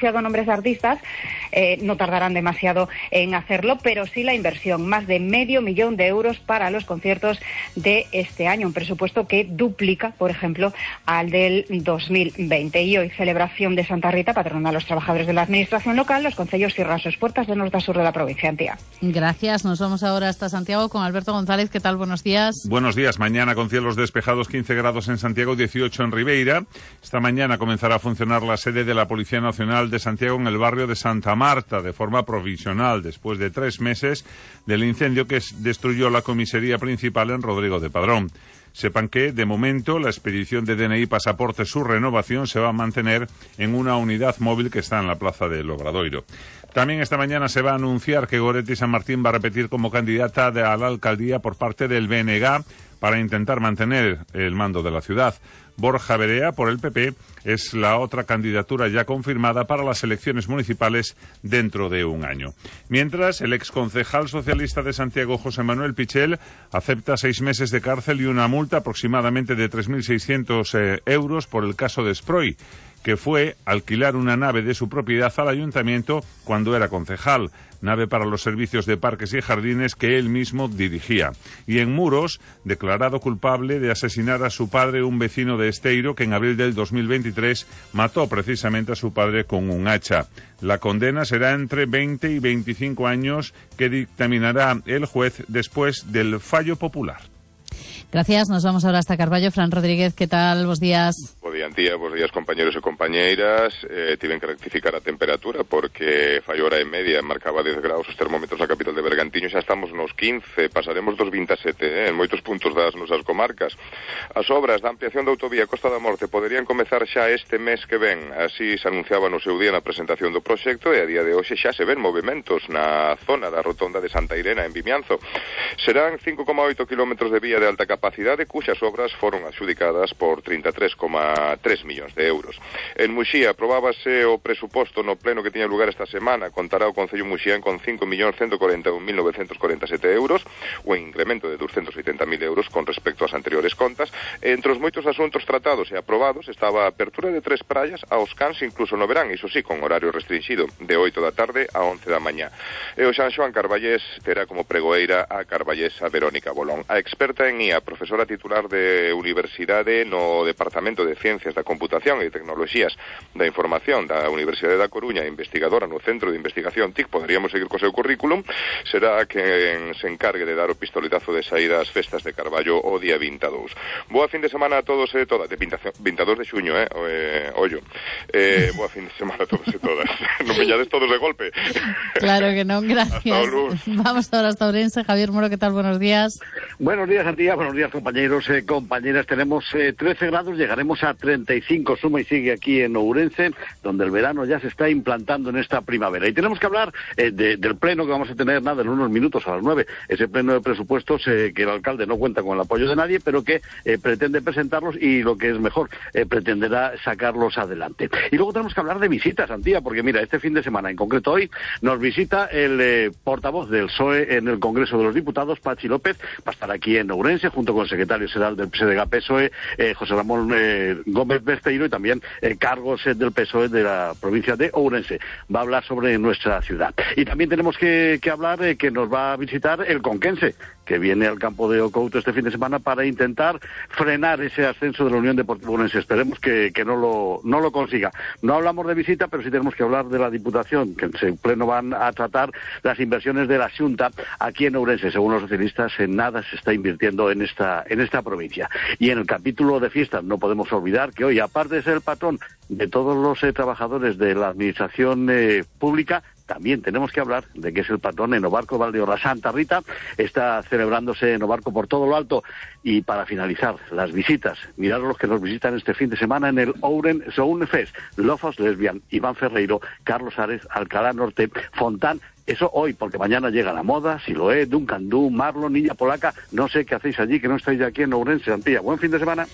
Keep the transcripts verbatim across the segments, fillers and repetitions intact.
anunciado nombres de artistas, eh, no tardarán demasiado en hacerlo, pero sí la inversión, más de medio millón de euros para los conciertos de este año, un presupuesto que duplica, por ejemplo, al del dos mil veinte. Y hoy, celebración de Santa Rita, patrona de los trabajadores de la administración local, los concellos cierran sus puertas de norte a sur de la provincia, Antía. Gracias, nos vamos ahora hasta Santiago con Alberto González. ¿Qué tal? Buenos días. Buenos días. Mañana con cielos despejados, quince grados en Santiago, dieciocho en Ribeira. Esta mañana comenzará a funcionar la sede de la Policía Nacional de Santiago en el barrio de Santa Marta, de forma provisional, después de tres meses del incendio que destruyó la comisaría principal en Rodrigo de Padrón. Sepan que, de momento, la expedición de D N I pasaporte, su renovación, se va a mantener en una unidad móvil que está en la plaza del Obradoiro. También esta mañana se va a anunciar que Goretti San Martín va a repetir como candidata a la alcaldía por parte del B N G para intentar mantener el mando de la ciudad. Borja Berea, por el P P, es la otra candidatura ya confirmada para las elecciones municipales dentro de un año. Mientras, el exconcejal socialista de Santiago, José Manuel Pichel, acepta seis meses de cárcel y una multa aproximadamente de tres mil seiscientos eh, euros por el caso de Sproi, que fue alquilar una nave de su propiedad al ayuntamiento cuando era concejal, nave para los servicios de parques y jardines que él mismo dirigía. Y en Muros, declarado culpable de asesinar a su padre, un vecino de Esteiro, que en abril del dos mil veintitrés mató precisamente a su padre con un hacha. La condena será entre veinte y veinticinco años, que dictaminará el juez después del fallo popular. Gracias, nos vamos ahora hasta Carballo. Fran Rodríguez, ¿qué tal? Bos días. Bo día, Antía, bos días, compañeros e compañeiras. Eh, tiven que rectificar a temperatura porque fai hora e media, marcaba dez graus os termómetros na capital de Bergantiño, xa estamos nos quince, pasaremos dos vinte e sete eh, en moitos puntos das nosas comarcas. As obras da ampliación da autovía Costa da Morte poderían comezar xa este mes que ven, así se anunciaba no seu día na presentación do proxecto, e a día de hoxe xa se ven movimentos na zona da rotonda de Santa Irena en Vimianzo. Serán cinco coma oito kilómetros de vía de alta capacidade capacidade, cuxas obras foron adxudicadas por trinta e tres coma tres millóns de euros. En Muxía aprobábase o presuposto no pleno que tiña lugar esta semana. Contará o Concello Muxián con cinco millóns ciento cuarenta e un mil novecentos cuarenta e sete euros, o incremento de doscientos oitenta mil euros con respecto ás anteriores contas. Entre os moitos asuntos tratados e aprobados estaba a apertura de tres praias aos cans incluso no verán, iso sí, con horario restringido, de oito da tarde a once da mañá. E o San Xoán Carballés terá como pregoeira a carballesa Verónica Bolón. A experta en I A, profesora titular de Universidade no Departamento de Ciencias da Computación e Tecnoloxías da Información da Universidade da Coruña, investigadora no Centro de Investigación T I C, poderíamos seguir co seu currículum, será quen se encargue de dar o pistoletazo de saída ás festas de Carballo o día vinte e dous. Boa fin de semana a todos e todas, de vinte e dous de xuño, eh, eh ollo. Eh, boa fin de semana a todos e todas. Non veñades todos de golpe. Claro que non, gracias. Vamos ahora hasta Ourense. Javier Moro, ¿qué tal? Buenos días. Buenos días, Antía, buenos días, compañeros, eh, compañeras. Tenemos eh, trece grados, llegaremos a treinta y cinco, suma y sigue aquí en Ourense, donde el verano ya se está implantando en esta primavera. Y tenemos que hablar eh, de, del pleno que vamos a tener, nada, en unos minutos a las nueve. Ese pleno de presupuestos eh, que el alcalde no cuenta con el apoyo de nadie, pero que eh, pretende presentarlos y, lo que es mejor, eh, pretenderá sacarlos adelante. Y luego tenemos que hablar de visitas, Antía, porque mira, este fin de semana, en concreto hoy, nos visita el eh, portavoz del P S O E en el Congreso de los Diputados, Pachi López. Va a estar aquí en Ourense, junto con el secretario general del P S D G P S O E, eh, José Ramón eh, Gómez Besteiro, y también eh, cargos eh, del P S O E de la provincia de Ourense. Va a hablar sobre nuestra ciudad. Y también tenemos que, que hablar eh, que nos va a visitar el conquense, que viene al campo de Ocouto este fin de semana para intentar frenar ese ascenso de la Unión Deportiva Ourense. Esperemos que, que no lo no lo consiga. No hablamos de visita, pero sí tenemos que hablar de la Diputación, que en su pleno van a tratar las inversiones de la Xunta aquí en Ourense. Según los socialistas, en nada se está invirtiendo en esta en esta provincia. Y en el capítulo de fiestas no podemos olvidar que hoy, aparte de ser el patrón de todos los eh, trabajadores de la administración eh, pública, también tenemos que hablar de que es el patrón en Obarco Valdeorra. Santa Rita está celebrándose en Obarco por todo lo alto. Y para finalizar, las visitas. Mirad los que nos visitan este fin de semana en el Ouren Sound Fest. Lofos Lesbian, Iván Ferreiro, Carlos Ares, Alcalá Norte, Fontán. Eso hoy, porque mañana llega la moda, Siloé, Duncan Du, Marlon, Niña Polaca. No sé qué hacéis allí, que no estáis aquí en Ourense, Antía. Buen fin de semana.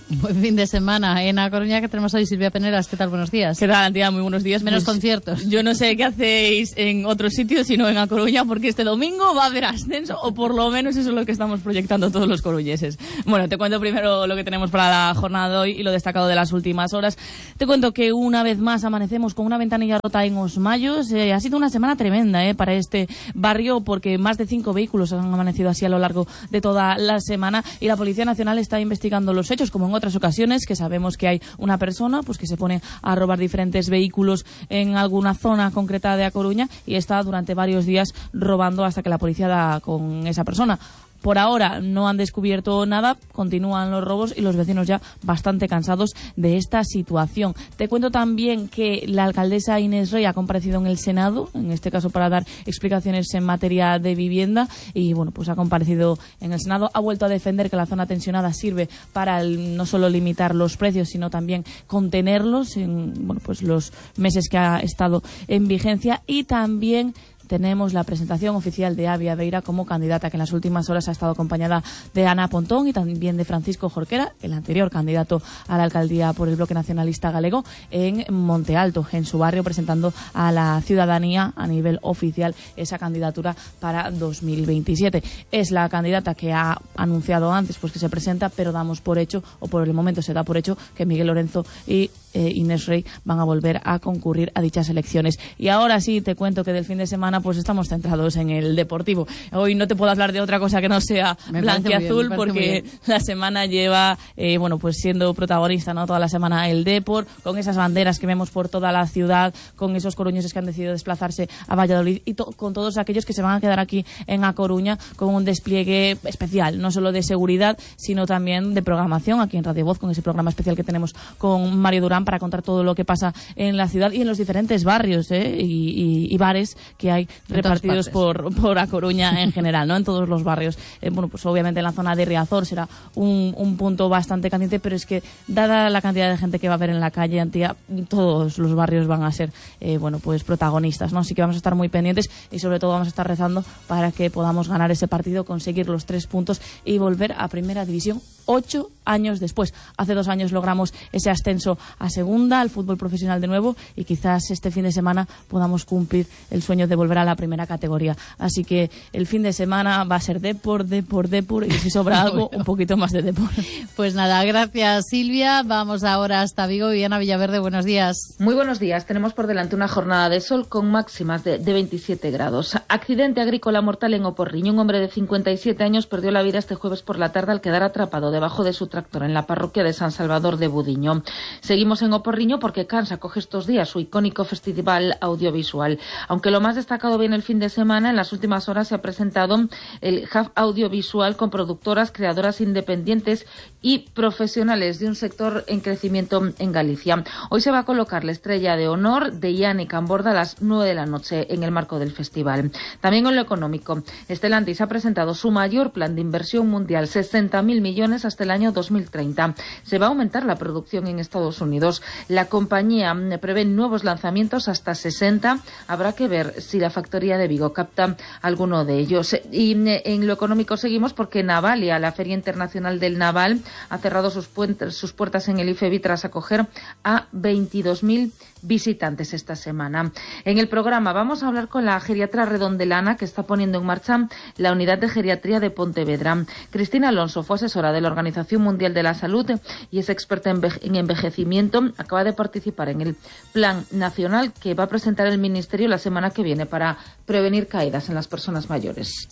Buen fin de semana en A Coruña, que tenemos hoy. Silvia Peneras, ¿qué tal? Buenos días. ¿Qué tal, Antía? Muy buenos días. Menos pues, conciertos. Yo no sé qué hacéis en otros sitios, sino en A Coruña, porque este domingo va a haber ascenso, o por lo menos eso es lo que estamos proyectando todos los coruñeses. Bueno, te cuento primero lo que tenemos para la jornada de hoy y lo destacado de las últimas horas. Te cuento que una vez más amanecemos con una ventanilla rota en Os Mayos. Eh, ha sido una semana tremenda eh, para este barrio, porque más de cinco vehículos han amanecido así a lo largo de toda la semana, y la Policía Nacional está investigando los hechos, como en otras ocasiones, que sabemos que hay una persona pues que se pone a robar diferentes vehículos en alguna zona concreta de A Coruña y está durante varios días robando hasta que la policía da con esa persona. Por ahora no han descubierto nada, continúan los robos y los vecinos ya bastante cansados de esta situación. Te cuento también que la alcaldesa Inés Rey ha comparecido en el Senado, en este caso para dar explicaciones en materia de vivienda, y bueno, pues ha comparecido en el Senado, ha vuelto a defender que la zona tensionada sirve para el, no solo limitar los precios, sino también contenerlos en bueno, pues los meses que ha estado en vigencia, y también tenemos la presentación oficial de Avia Beira como candidata, que en las últimas horas ha estado acompañada de Ana Pontón y también de Francisco Jorquera, el anterior candidato a la alcaldía por el Bloque Nacionalista Galego, en Monte Alto, en su barrio, presentando a la ciudadanía a nivel oficial esa candidatura para dos mil veintisiete. Es la candidata que ha anunciado antes pues que se presenta, pero damos por hecho, o por el momento se da por hecho, que Miguel Lorenzo y eh, Inés Rey van a volver a concurrir a dichas elecciones. Y ahora sí te cuento que del fin de semana pues estamos centrados en el deportivo. Hoy no te puedo hablar de otra cosa que no sea blanquiazul, porque la semana lleva eh, bueno pues siendo protagonista, ¿no? Toda la semana el Depor, con esas banderas que vemos por toda la ciudad, con esos coruñeses que han decidido desplazarse a Valladolid, y to con todos aquellos que se van a quedar aquí en A Coruña con un despliegue especial, no solo de seguridad, sino también de programación aquí en Radio Voz, con ese programa especial que tenemos con Mario Durán para contar todo lo que pasa en la ciudad y en los diferentes barrios ¿eh? y, y, y bares que hay repartidos por, por A Coruña en general, ¿no? En todos los barrios. Eh, bueno, pues obviamente en la zona de Riazor será un, un punto bastante caliente, pero es que dada la cantidad de gente que va a haber en la calle, Antía, todos los barrios van a ser, eh, bueno, pues protagonistas, ¿no? Así que vamos a estar muy pendientes y sobre todo vamos a estar rezando para que podamos ganar ese partido, conseguir los tres puntos y volver a Primera División ocho años después. Hace dos años logramos ese ascenso a Segunda, al fútbol profesional de nuevo, y quizás este fin de semana podamos cumplir el sueño de volver a la primera categoría. Así que el fin de semana va a ser Depor, Depor, Depor, y si sobra algo, un poquito más de Depor. Pues nada, gracias Silvia. Vamos ahora hasta Vigo. Viviana Villaverde, buenos días. Muy buenos días. Tenemos por delante una jornada de sol con máximas de, de veintisiete grados. Accidente agrícola mortal en Oporriño. Un hombre de cincuenta y siete años perdió la vida este jueves por la tarde al quedar atrapado debajo de su tractor en la parroquia de San Salvador de Budiño. Seguimos en Oporriño porque Cans acoge estos días su icónico festival audiovisual. Aunque lo más destacado viene el fin de semana, en las últimas horas se ha presentado el Hub Audiovisual con productoras, creadoras independientes y profesionales de un sector en crecimiento en Galicia. Hoy se va a colocar la estrella de honor de Yanni Camborda a las nueve de la noche en el marco del festival. También en lo económico, Stellantis ha presentado su mayor plan de inversión mundial, sesenta mil millones hasta el año dos mil treinta. Se va a aumentar la producción en Estados Unidos. La compañía prevé nuevos lanzamientos hasta sesenta. Habrá que ver si la factoría de Vigo capta alguno de ellos. Y en lo económico seguimos porque Navalia, la Feria Internacional del Naval, ha cerrado sus, sus puertas en el IFEBI tras acoger a veintidós mil visitantes esta semana. En el programa vamos a hablar con la geriatra redondelana que está poniendo en marcha la unidad de geriatría de Pontevedra. Cristina Alonso fue asesora de la Organización Mundial de la Salud y es experta en, en envejecimiento. Acaba de participar en el plan nacional que va a presentar el Ministerio la semana que viene para prevenir caídas en las personas mayores.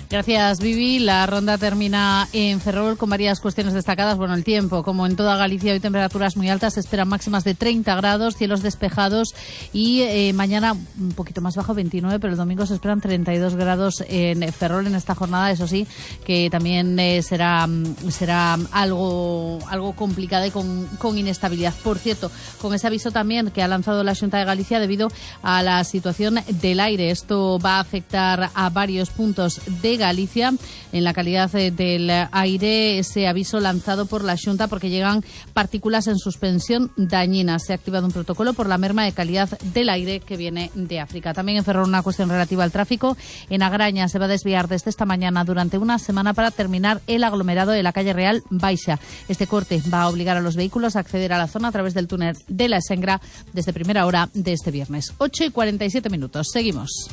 Gracias, Vivi. La ronda termina en Ferrol con varias cuestiones destacadas. Bueno, el tiempo, como en toda Galicia, hoy temperaturas muy altas, se esperan máximas de treinta grados, cielos despejados y eh, mañana un poquito más bajo, veintinueve, pero el domingo se esperan treinta y dos grados en Ferrol en esta jornada. Eso sí, que también eh, será será algo algo complicada y con, con inestabilidad. Por cierto, con ese aviso también que ha lanzado la Xunta de Galicia debido a la situación del aire. Esto va a afectar a varios puntos de de Galicia. En la calidad del aire, ese aviso lanzado por la Xunta porque llegan partículas en suspensión dañinas. Se ha activado un protocolo por la merma de calidad del aire que viene de África. También en Ferrol una cuestión relativa al tráfico. En Agraña se va a desviar desde esta mañana durante una semana para terminar el aglomerado de la calle Real Baixa. Este corte va a obligar a los vehículos a acceder a la zona a través del túnel de la Esengra desde primera hora de este viernes. ocho y cuarenta y siete minutos. Seguimos.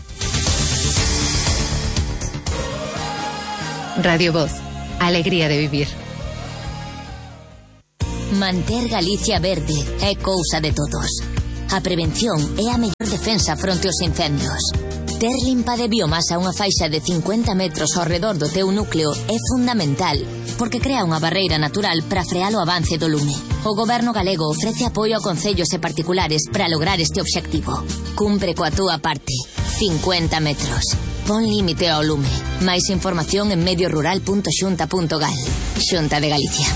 Radio Voz. Alegría de vivir. Manter Galicia verde é cousa de todos. A prevención é a mellor defensa fronte aos incendios. Ter limpa de biomasa unha faixa de cincuenta metros ao redor do teu núcleo é fundamental, porque crea unha barreira natural para frear o avance do lume. O Goberno galego ofrece apoio a concellos e particulares para lograr este obxectivo. Cumpre coa túa parte. cincuenta metros. Pon límite ao lume. Máis información en medio rural punto xunta punto gal. Xunta de Galicia.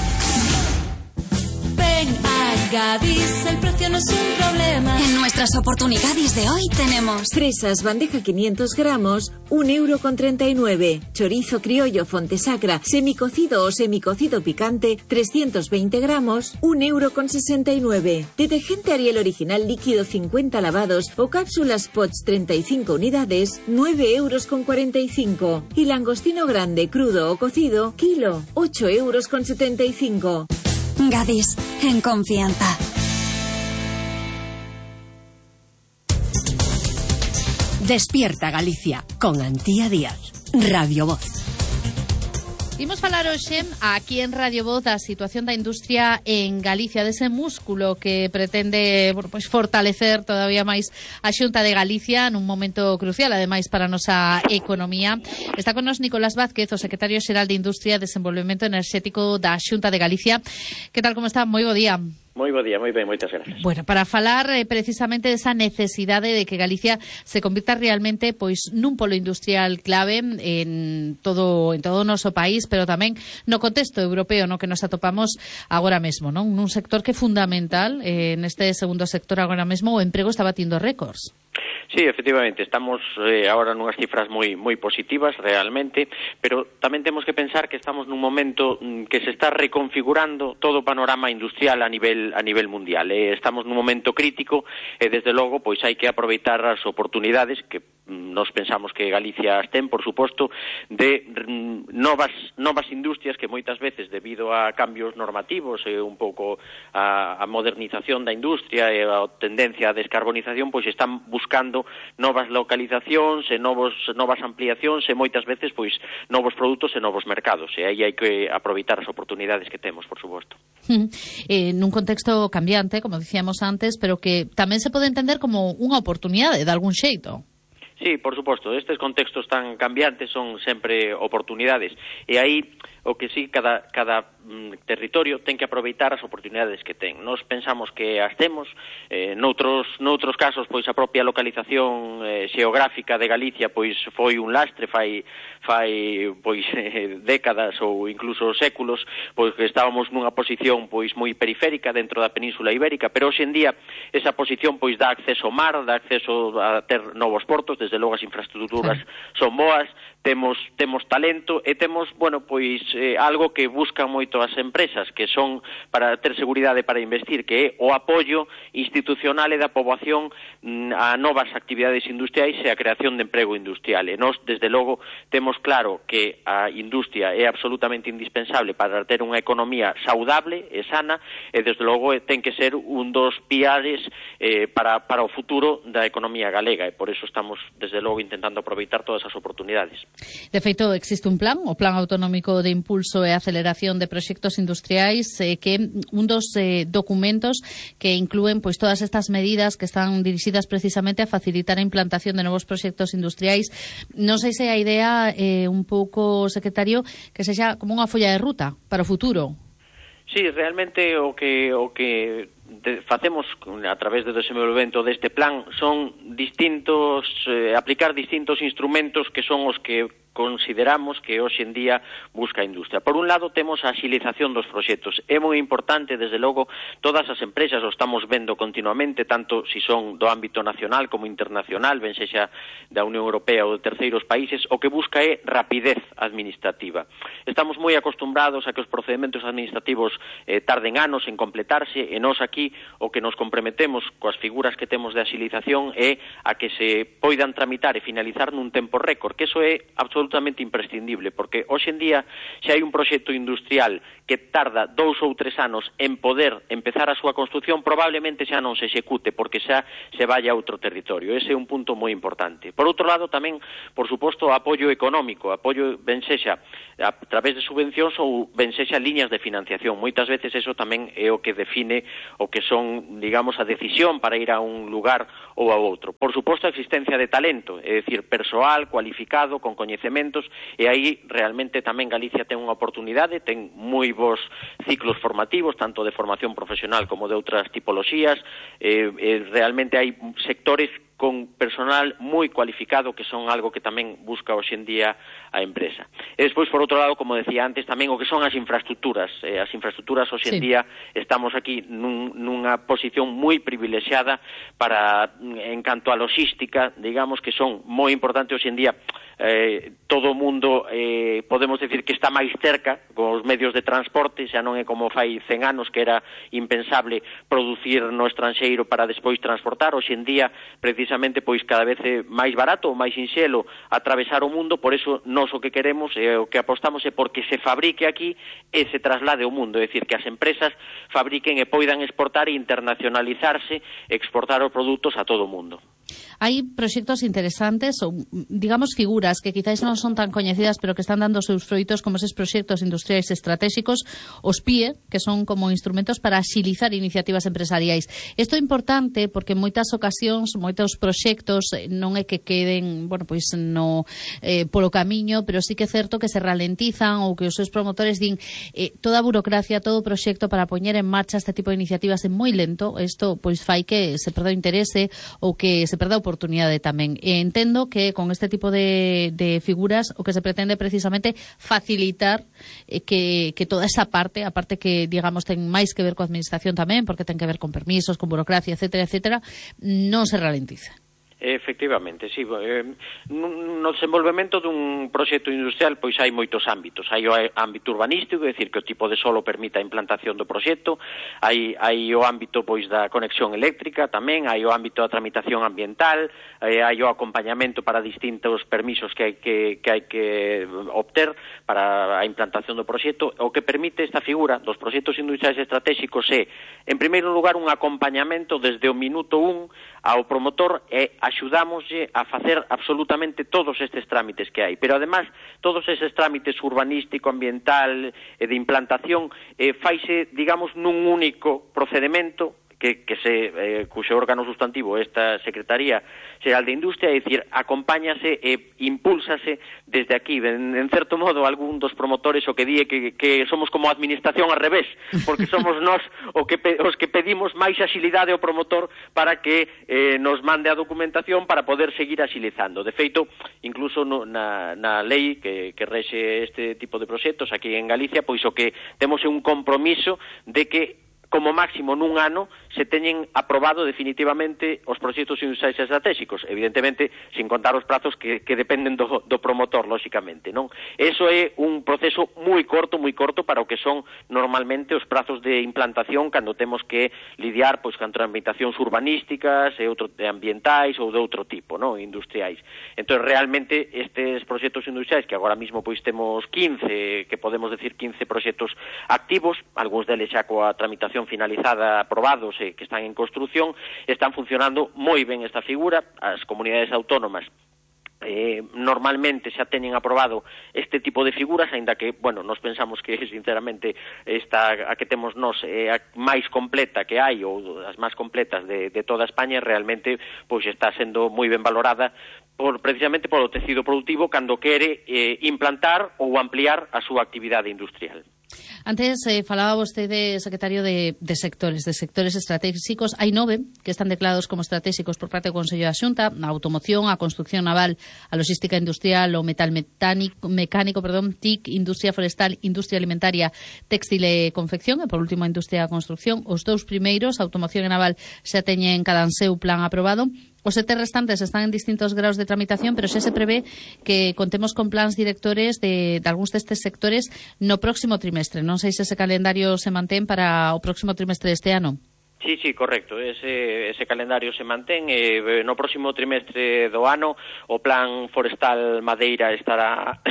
Ven a Gadis, el precio no es un problema. En nuestras oportunidades de hoy tenemos fresas bandeja quinientos gramos, un euro con treinta y nueve. Chorizo criollo Fontesacra, semicocido o semicocido picante, trescientos veinte gramos, un euro con sesenta y nueve. Detergente Ariel original líquido cincuenta lavados o cápsulas Pots treinta y cinco unidades, nueve euros con cuarenta y cinco. Y langostino grande, crudo o cocido, kilo, ocho euros con setenta y cinco. Gadis, en confianza. Despierta Galicia, con Antía Díaz. Radio Voz. Imos falar hoxe aquí en Radio Voz da situación da industria en Galicia, dese músculo que pretende, bueno, pois fortalecer todavía máis a Xunta de Galicia nun momento crucial, ademais, para a nosa economía. Está con nos Nicolás Vázquez, o secretario xeral de Industria e Desenvolvemento Enerxético da Xunta de Galicia. Que tal, como está? Moi bo día. Moi bo día, moi ben, moitas gracias. Bueno, para falar eh, precisamente desa necesidade de que Galicia se convirta realmente pois nun polo industrial clave en todo en todo o noso país, pero tamén no contexto europeo no que nos atopamos agora mesmo, non? Nun sector que é fundamental, eh, neste segundo sector agora mesmo o emprego está batindo récords. Sí, efectivamente, estamos eh, agora nunhas cifras moi moi positivas realmente, pero tamén temos que pensar que estamos nun momento mm, que se está reconfigurando todo o panorama industrial a nivel a nivel mundial. Eh, estamos nun momento crítico e desde logo pois hai que aproveitar as oportunidades que mm, nos pensamos que Galicia ten, por suposto, de mm, novas novas industrias que moitas veces debido a cambios normativos e un pouco a, a modernización da industria e a tendencia á descarbonización pois están buscando novas localizacións e novos, novas ampliacións e moitas veces pois novos produtos e novos mercados, e aí hai que aproveitar as oportunidades que temos, por suposto. Eh, nun contexto cambiante, como dicíamos antes, pero que tamén se pode entender como unha oportunidade de algún xeito. Sí, por suposto, estes contextos tan cambiantes son sempre oportunidades, e aí o que sí, cada, cada mm, territorio ten que aproveitar as oportunidades que ten. Nos pensamos que as temos, eh, noutros, noutros casos, pois a propia localización eh, xeográfica de Galicia pois foi un lastre fai, fai pois eh, décadas ou incluso séculos, pois que estábamos nunha posición pois moi periférica dentro da Península Ibérica, pero hoxe en día esa posición pois dá acceso ao mar, dá acceso a ter novos portos, desde logo as infraestructuras son boas, temos temos talento e temos, bueno, pois eh, algo que buscan moito as empresas, que son para ter seguridade para investir, que é o apoio institucional e da poboación mm, a novas actividades industriais e a creación de emprego industrial. E nós, desde logo, temos claro que a industria é absolutamente indispensable para ter unha economía saudable e sana, e desde logo ten que ser un dos piares eh, para, para o futuro da economía galega, e por eso estamos, desde logo, intentando aproveitar todas as oportunidades. De feito, existe un plan, o Plan Autonómico de Impulso e Aceleración de Proxectos Industriais, eh, que é un dos eh, documentos que inclúen pois todas estas medidas que están dirixidas precisamente a facilitar a implantación de novos proxectos industriais. Non sei se a idea é eh, un pouco, secretario, que sexa como unha folla de ruta para o futuro. Sí, realmente o que o que de, facemos a través do desenvolvemento deste plan son distintos, eh, aplicar distintos instrumentos que son os que consideramos que hoxe en día busca a industria. Por un lado, temos a axilización dos proxectos. É moi importante, desde logo, todas as empresas o estamos vendo continuamente, tanto si son do ámbito nacional como internacional, ben sexa da Unión Europea ou de terceiros países, o que busca é rapidez administrativa. Estamos moi acostumbrados a que os procedementos administrativos eh, tarden anos en completarse, e nós aquí o que nos comprometemos coas figuras que temos de axilización é a que se poidan tramitar e finalizar nun tempo récord, que eso é absolutamente imprescindible, porque hoxe en día se hai un proxecto industrial que tarda dous ou tres anos en poder empezar a súa construción, probablemente xa non se execute, porque xa se vaya a outro territorio. Ese é un punto moi importante. Por outro lado, tamén, por suposto, apoio económico, apoio ben sexa a través de subvencións ou ben sexa liñas de financiación. Moitas veces eso tamén é o que define o que son, digamos, a decisión para ir a un lugar ou a outro. Por suposto, a existencia de talento, é dicir, persoal cualificado, con coñecementos, e aí realmente tamén Galicia ten unha oportunidade, ten moi bons ciclos formativos, tanto de formación profesional como de outras tipoloxías, eh, eh, realmente hai sectores con personal moi cualificado, que son algo que tamén busca hoxe en día a empresa. E despois, por outro lado, como decía antes, tamén o que son as infraestructuras. Eh, as infraestructuras hoxe en día estamos aquí nun, nunha posición moi privilexiada para, en canto a logística, digamos que son moi importantes hoxe en día. Eh, todo o mundo eh, podemos decir que está máis cerca con os medios de transporte, xa non é como fai cen anos que era impensable producir no estranxeiro para despois transportar. Hoxe en día, precisamente, pois cada vez é máis barato ou máis sinxelo atravesar o mundo. Por eso nós o que queremos e o que apostamos é porque se fabrique aquí e se traslade ao mundo, é dicir, que as empresas fabriquen e poidan exportar e internacionalizarse, exportar os produtos a todo o mundo. Hai proxectos interesantes ou, digamos, figuras que quizáis non son tan coñecidas pero que están dando seus froitos, como eses proxectos industriais estratégicos, os P I E, que son como instrumentos para axilizar iniciativas empresariais. Isto é importante porque en moitas ocasións, moitos proxectos non é que queden, bueno, pois no eh, polo camiño, pero sí que é certo que se ralentizan ou que os seus promotores din eh, toda a burocracia, todo o proxecto para poñer en marcha este tipo de iniciativas é moi lento. Isto pois fai que se perda o interese ou que se perda a oportunidade tamén. E entendo que con este tipo de, de figuras o que se pretende precisamente facilitar eh, que, que toda esa parte, a parte que, digamos, ten máis que ver coa administración tamén, porque ten que ver con permisos, con burocracia, etcétera, etcétera, non se ralentiza. Efectivamente, sí. Eh, no desenvolvemento dun proxecto industrial pois hai moitos ámbitos. Hai o ámbito urbanístico, é dicir, que o tipo de solo permita a implantación do proxecto. Hai, hai o ámbito pois da conexión eléctrica tamén, hai o ámbito da tramitación ambiental, eh, hai o acompañamento para distintos permisos que hai que, que hai que obter para a implantación do proxecto. O que permite esta figura dos proxectos industriais estratégicos é, en primeiro lugar, un acompañamento desde o minuto un ao promotor e axudámoslle a facer absolutamente todos estes trámites que hai. Pero, además, todos estes trámites urbanístico, ambiental e de implantación eh, faise, digamos, nun único procedimento que, que se, eh, cuxo órgano sustantivo esta Secretaría Xeral de Industria, é dicir, acompáñase e impúlsase desde aquí. En, en certo modo, algún dos promotores o que di que, que somos como administración ao revés, porque somos nós o que, os que pedimos máis axilidade ao promotor para que eh, nos mande a documentación para poder seguir axilizando. De feito, incluso no, na, na lei que, que rexe este tipo de proxectos aquí en Galicia, pois o que temos é un compromiso de que como máximo nun ano se teñen aprobado definitivamente os proxectos industriais estratégicos, evidentemente sin contar os prazos que, que dependen do, do promotor, lóxicamente, non? Eso é un proceso moi corto, moi corto para o que son normalmente os prazos de implantación cando temos que lidiar pois con tramitacións urbanísticas e outro de ambientais ou de outro tipo, non? Industriais. Entón, realmente, estes proxectos industriais, que agora mesmo pois temos quince, que podemos decir quince proxectos activos, algúns deles xa coa tramitación finalizada, aprobados e que están en construción, están funcionando moi ben esta figura. As comunidades autónomas eh, normalmente xa teñen aprobado este tipo de figuras, aínda que, bueno, nos pensamos que, sinceramente, esta a que temos nós é a máis completa que hai, ou as máis completas de, de toda España, realmente pois está sendo moi ben valorada por, precisamente polo tecido productivo cando quere eh, implantar ou ampliar a súa actividade industrial. Antes eh, falaba vostede, secretario, de, de sectores, de sectores estratégicos. Hai nove que están declarados como estratégicos por parte do Consello da Xunta: a automoción, a construción naval, a logística industrial, o metal mecánico, mecánico perdón, T I C, industria forestal, industria alimentaria, textil e confección, e por último a industria da construción. Os dous primeiros, automoción e naval, xa teñen cada seu plan aprobado. Os sete restantes están en distintos graus de tramitación, pero xa se prevé que contemos con plans directores de, de algúns destes sectores no próximo trimestre. Non sei se ese calendario se mantén para o próximo trimestre deste ano. Sí, sí, correcto. Ese, ese calendario se mantén. Eh, no próximo trimestre do ano o plan forestal Madeira estará,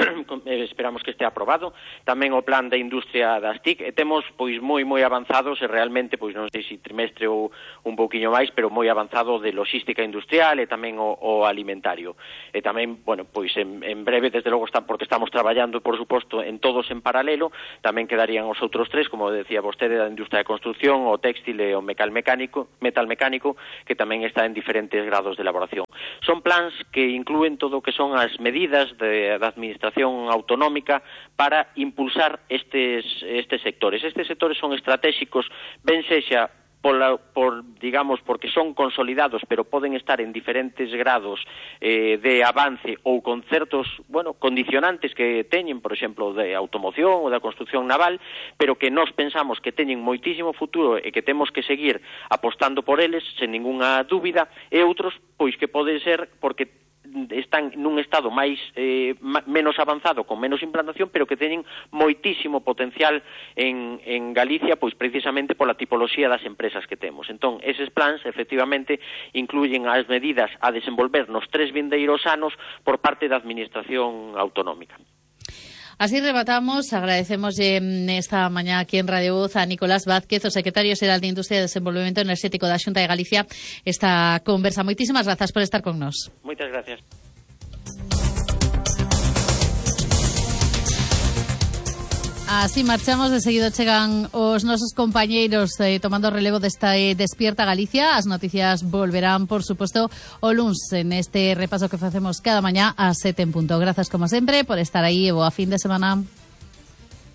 esperamos que este aprobado. Tamén o plan da industria das T I C. E temos pois moi moi avanzados e realmente, pois non sei se trimestre ou un pouquiño máis, pero moi avanzado de logística industrial e tamén o, o alimentario. E tamén, bueno, pois en, en breve, desde logo, está, porque estamos traballando, por suposto, en todos en paralelo, tamén quedarían os outros tres, como decía vostede, da industria de construción, o textil e o mecánico metal mecánico, metal mecánico, que tamén está en diferentes grados de elaboración. Son plans que inclúen todo o que son as medidas de, da administración autonómica para impulsar estes, estes sectores. Estes sectores son estratégicos, ben sexa Por, la, por, digamos, porque son consolidados, pero poden estar en diferentes grados eh, de avance ou con certos, bueno, condicionantes que teñen, por exemplo, de automoción ou da construción naval, pero que nós pensamos que teñen moitísimo futuro e que temos que seguir apostando por eles, sen ningunha dúbida, e outros, pois que pode ser porque están nun estado máis eh, menos avanzado, con menos implantación, pero que teñen moitísimo potencial en, en Galicia, pois precisamente pola tipoloxía das empresas que temos. Entón, eses plans, efectivamente, incluyen as medidas a desenvolver nos tres vindeiros anos por parte da Administración Autonómica. Así rematamos, agradecemos esta mañá aquí en Radio Voz a Nicolás Vázquez, o secretario xeral de Industria e Desenvolvemento Enerxético da Xunta de Galicia, esta conversa. Moitísimas grazas por estar con nós. Moitas gracias. Así marchamos, de seguido chegan os nosos compañeiros eh, tomando relevo desta eh, Despierta Galicia. As noticias volverán, por suposto, o luns en este repaso que facemos cada mañá a sete en punto. Grazas, como sempre, por estar aí e boa fin de semana.